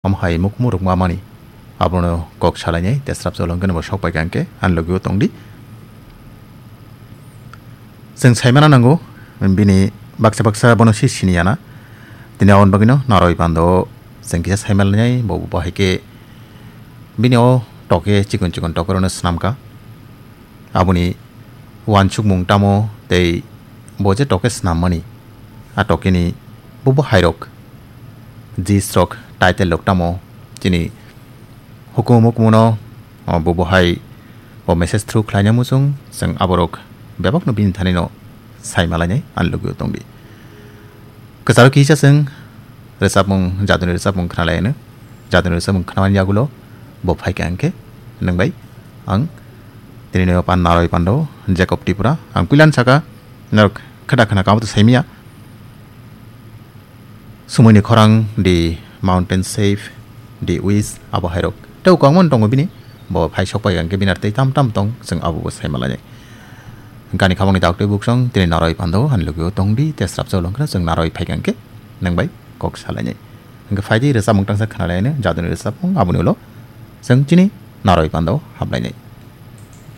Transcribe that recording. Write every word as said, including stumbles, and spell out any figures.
Omo hai mukmu rwkma mani. Abono kok salainai, tesrap cholong khe bo sok pai kha hwnkhe, ani logi o tongdi. Chwng saimana nango, bini baksa baksa bono si sini yana. Tini aboni bagwino naroi pando chwng kisa saimalainai, bo bo hai khe bini o toke chikon chikon tokorokno swnamkha. Aboni uansukmung tamo tei bo je toke snammani, a tokeni bubo hairok, jis rok, title rok tamo chini hukumu hukumu no, o, bubo hai o message through khlaina muchung, chwng aborok bebakno bini thani no saimalainai ani logi o tongdi. Kwcharo kisa chwng rwchapmung, jaduni rwchapmung khnalaino. Jaduni rwchapmung khnamani yagulo bo phaikha hwnkhe nwng bai ang tini noyo pan naroi pando Jacob Tripura. Ang puilan saka norok khada khana kamo to saimia. Sumoini khorang, The Mountain Shape, The Wish, abo hairok tei kwbangma tongo bini. Bo phai sok pai hwnkhe bini ar tei tam tam tong, chwng abo bo saimalainai. Gani khamani daktwi buksong tini naroi pando ani logi o tongdi, tesrap cholong khe chwng naroi phaikha hwnkhe nwng bai kok salainai. Hwnkhe phaidi rwchapmung tangsa khnalaino, jaduni rwchapmung aboni ulo chwng chini naroi pando hablainai.